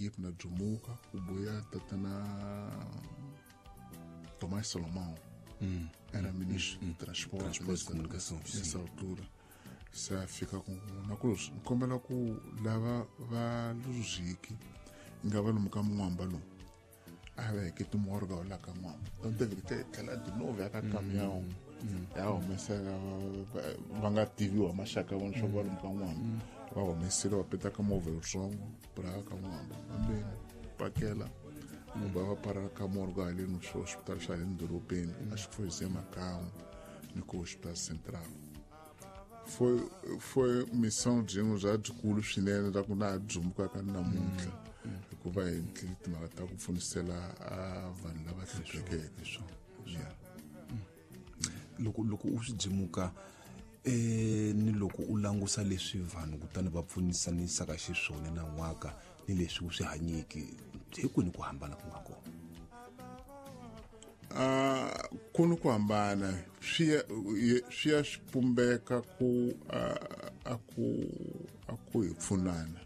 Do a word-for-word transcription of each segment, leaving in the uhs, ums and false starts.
equipe na Jumuka ku buya tatana Tomás Salomão. Hum. Era ministro de transporte, Transporte e comunicação, nessa sim. altura. Se fica com na cruz, kombela ku lava va luziki nga va lomu ka Mwamba lomu a va heke timorga la ka Mwamba. Então teve que ter tlhela de novo ya ka caminhão ya humesela va nga tiviwa maxaka vona swa va lomu ka Mwamba va humesile va peta ka movha yitsongo pra ka Mwamba kambeni pakela va va para ka morga haleni swo hospital xa le dorobeni acho que foi Zé Macau ni ku hospital central. Foi foi missão byin'we bya byikulu swinene ra ku na dzumbuka ka namuntlha hikuva hi endlile timhaka ta ku pfunisela a vanhu lava hluphekeke. Yeah. Loko loko u swi dzimuka eh ni loko u langusa leswi vanhu kutani va pfunisanisaka xiswona na n'waka ni leswi u swi hanyiki hi kwini ku hambana ku nga kona? Ah, ku ni ku hambana swi ya swi ya swi pumbeka ku a ku a ku hi pfunana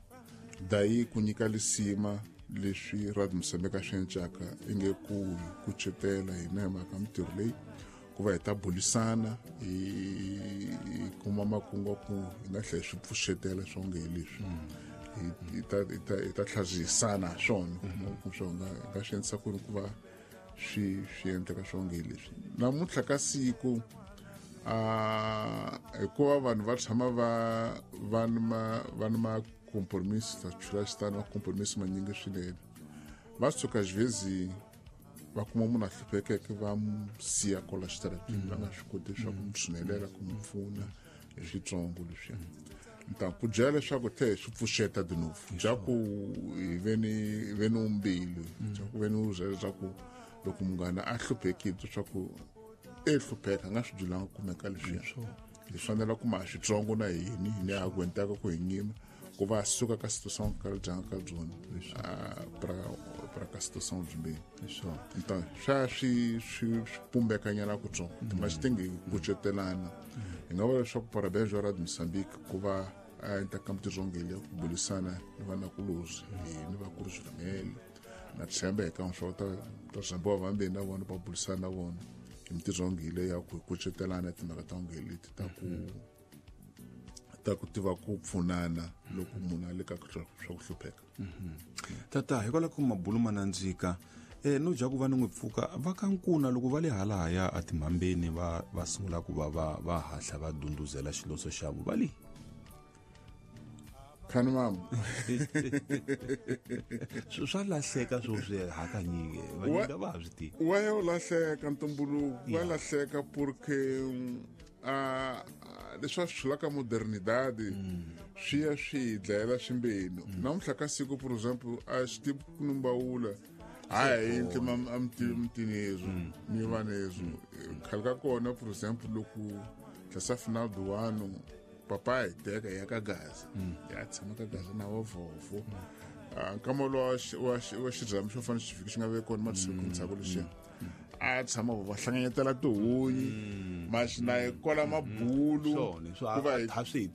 dayi ku nyika lisima leswi Radio Mozambique swi encaka inge ku hi kucetela hina hi mhaka mintirho leyi ku va hi ta bulisana hi kuma makungu ku hi nga tlhela swi pfuxetela swo nge hi leswi hi ta hi ta hi ta tlhazihisana ha swona ku swo nga hi nga swi endlisa ku ri ku va swi swi endleka swo nge leswi namuntlha ka siku a hikuva vanhu va tshama va va ni ma va ni ma compromisso ta chula xitano ma compromisso manyingi swinene va suka xivezi va kuma munhu a hluphekeke va mu siya kwala xitaratini va nga swi koti leswaku mu tshinelela ku mu pfuna hi switsongo leswiya. Então ku byela leswaku tlhe swi pfuxeta de novo bya ku hi ve ni ve ni umbilu bya ku ve ni byela leswaku loko munghana a hluphekile leswaku e hlupheka a nga swi byelanga kumeka leswiya hi fanele ku ma switsongo na hini hi ne a ku endlaka ku hi nyima ku va suka ka situação ka dyanga ka byona pra pra ka situação byimbeni. Então swa swi swi pumbekanyana kutsongo mas tem que kucetelana hi nga vula leswaku parabéns wa Radio Mozambique ku va a endla ka mintirhongele ya ku bulisana ni vanakulozi ni vakulu swinene na tshemba eka swa ta ta zambiwa vambeni na vona va bulisana na vona hi mintirhongele ya ku kucetelana timhaka ta ngele leti ta ku ta ku tiva ku pfunana loko munhu a le ka swa ku hlupheka. Tata hikwalaho ka mabulu ma nandzika eh no dya ku va ni n'wi pfuka va ka nkuna loko va le halahaya a timhambeni va va sungula ku va va va hahla va dunduzela xiloso xa vo va le khani mama swa lahleka swo swi hakanyingi vanyingi va ha swi tivi wa ya u lahleka ntumbuluko wa lahleka porque a leswi va swi hlulaka modernidade swi ya swi dlayela swimbeni namuntlha ka siku por exemple a xi tivi ku numbawula hayi endle amtinezo ni vanezo khale ka kona por exemple loko tlhasa final do ano papa hi teka ya ka Gaza ya tshama ka Gaza na wa vovho nkama lowa wa xirhami xo fana xi fiki xi nga ve kona masiku ntsako lexiya a tshama va hlanganyetela tihunyi mas na hi kwala mabulu ku va hi swi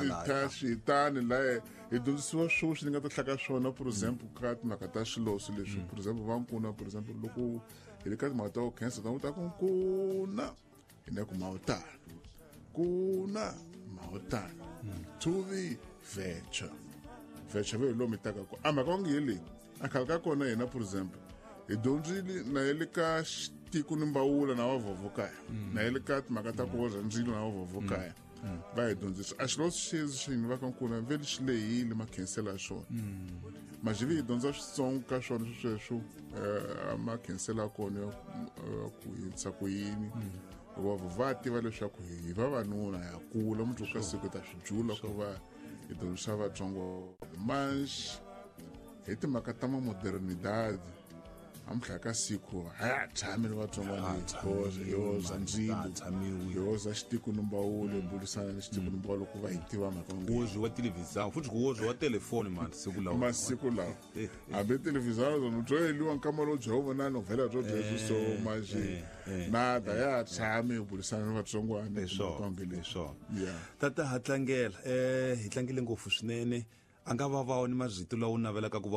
la tha switana la hi dyondzisiwa swo swi nga ta hlaka swona for example ka timhaka ta xiloso leswi for example va nkuna for example loko hi le ka timhaka ta cancer ta ta ku nkuna hi na ku mawutana kuna mawutana tuvi vecha vecha ve lomu taka ku a mhaka onge hi leyi a khale ka kona hina for example hi dyondzile na hi le ka xitiko ni mbawula na vavhovho kaya na hi le ka timhaka ta ku voza ndzilo na vavhovho kaya va hi dyondzisa a xiloso xezi xini va ka nkuna vele xi lehile makhensela ya xona majivi hi dyondza switsongo ka swona sweswo a makhensela ya kona ya ku yinisa ku yini hikuva va tiva leswaku hi vavanuna ya kula mundzuku ka siku ta swi jula ku va hi dyondzisa vatsongo mas hi timhaka ta ma modernidade namuntlha ka siku a ya tshami ni vatsongwana hi ndzilo hi hoza xitiko ni mbawulo hi burisana ni xitiko ni mbawulo ku va hi tiva mhaka ku wa televhizani futhi ku wa telefoni masiku lawa masiku lawa hambi televhizani zona byo yeliwa nkama lowu bya vona novhela byo byebyo so manje nada ya tshami hi burisana ni vatsongwana leswo tata ha tlangela um hi tlangele ngopfu swinene a nga va va ni marito lawa u navelaka ku va